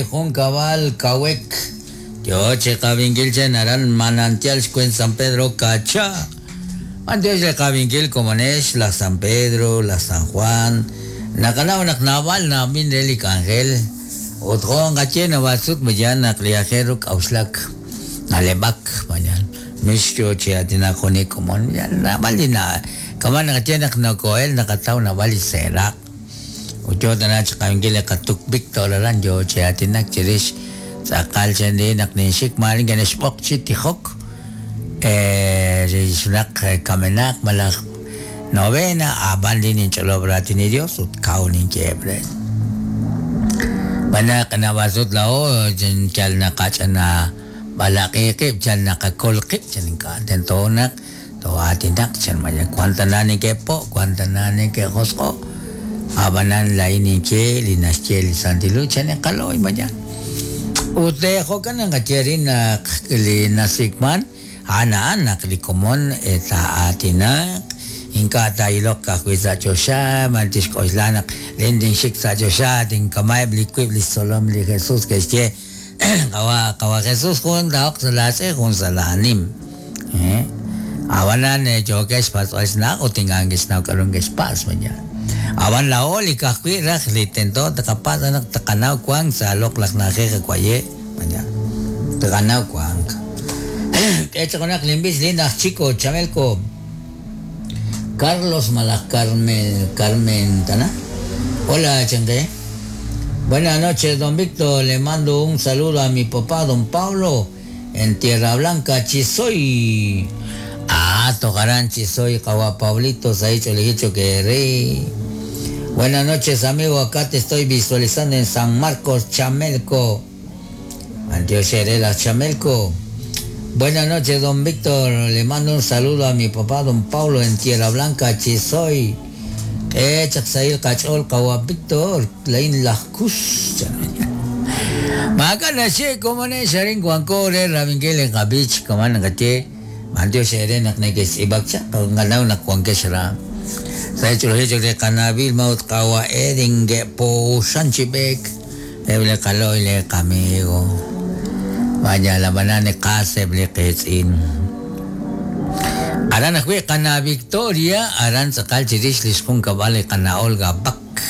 junkab'al Kawek. Yo chi qab'inkil chen aran Manantial xwent San Pedro Kacha. B'antiox re qab'inkil komonex laj San Pedro, laj San Juan. Naqanaw naq naab'al na'b'in re li k'anjel. Ut jo' nqaye naab'al sut mayan naq li aajel ru k'a'uxlak, na'leb'ak, mayan mix yo chi aatinak junik komon. Naab'al li na kama' naqaye naq noko'el naqataw naab'al li seeraq'. Ut yo tana chi qab'inkil li qatuk Víctor aran yo chi aatinak chirix tz'aqal chan ri naq ninxik maare nke'nexb'oq chi tijok rix junaq kamenaq malaj novena ab'an li ninch'olob' raatin li Dios ut kaw ninyeheb' re. Xb'aan naq naab'al sut laa'o yal naqach'ana b'alaq'i qib' yal naqakol qib' chan ink'a' tento naq too'aatinaq chan maya wan tana neke'po' wan tana neke'josq'o' ab'anan laa'in ninye li naxye li Santil Hu chan inqalo'y maya. Ut jo'kan naqaye rin naq li nasik'man a'an a'an naq li komon taa'aatinaq ink'a' taa'iloq ka'ajwi' sa' choxa mal tixk'oxla naq lin tinxik sa' choxa tinkama'eb' li wiib' li xtzolom li Jesús ke'xye qawa qawa Jesús jun taa'oq sa' laatz'e jun sa' laanim. Ab'anan yookeb' xpatz'b'al xna'aj ut ink'a' neke'xnaw k'a'ru neke'xpatz' maya. Ab'an laa'o li ka'ajwi' raj li tento taqapatz' naq taqanaw wank sa' loq'laj na'ajej waye' maya. Taqanaw wank. K'e chaq junaq linb'ich lin aj Chico Chamelco. Carlos malaj Carmen Carmen tana. Hola, chanke. Buenas noches, don Víctor. Le mando un saludo a mi papá, don Pablo, en Tierra Blanca, Chisoy. Ah, tocarán Chisoy, Kawa Pablito, Saicho Lejicho que rey. Buenas noches, amigo. Acá te estoy visualizando en San Marcos, Chamelco. Antioquia Herrera, Chamelco. Buenas noches, don Víctor. Le mando un saludo a mi papá, don Pablo, en Tierra Blanca, Chisoy. Chaksail Kachol, Kawa Víctor, Lain Lajkus. Makana she, como ne, Sharin Guancore, Rabinguel, Gabich, Kaman Gate, Antioquia Herrera, Nekes Ibakcha, Ganau Nakuanqueshra. Sa hecho de Canabil, Maut Kawa Edin, Po Sanchibek, Eble Kaloy, le Kamigo. Vaya la banana Kaseb, le Ketzin. Aran ajwi' qana Victoria, aran tz'aqal chirix li xjunkab'al li qana Olga Bak.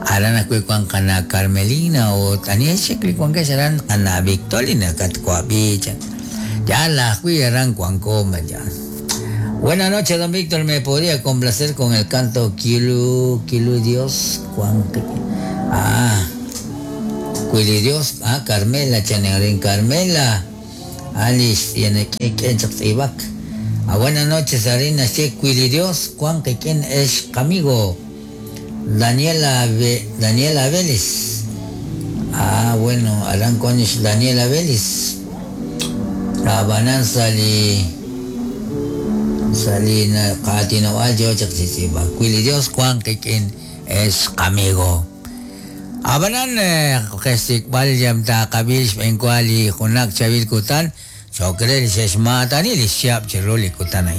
Aran ajwi' wan qana Carmelina ut ani xik li wankex aran qana Victoria nakatwab'i chan. Ya la ajwi' aran wanko maya. Buenas noches, don Víctor. Me podría complacer con el canto Kilu, Kilu Dios, Juan. Ah, Cuili Dios, ah, Carmela, Chanerín Carmela. Alice, tiene que Ibak. Ah, buenas noches, Arina, Che, Cuili Dios, Juan, que quien es amigo. Daniela, Daniela Vélez. Ah, bueno, Alan Conish, Daniela Vélez. Abanan sali. Salina Katino Aljo Chaksisiba. Cuili Dios Juan Kikin es amigo. Abanan Kesik Balyam ta Kabil Penkwali Hunak Chavil Kutan. Chokrel Sheshmatani Lishiap Chiruli Kutanay.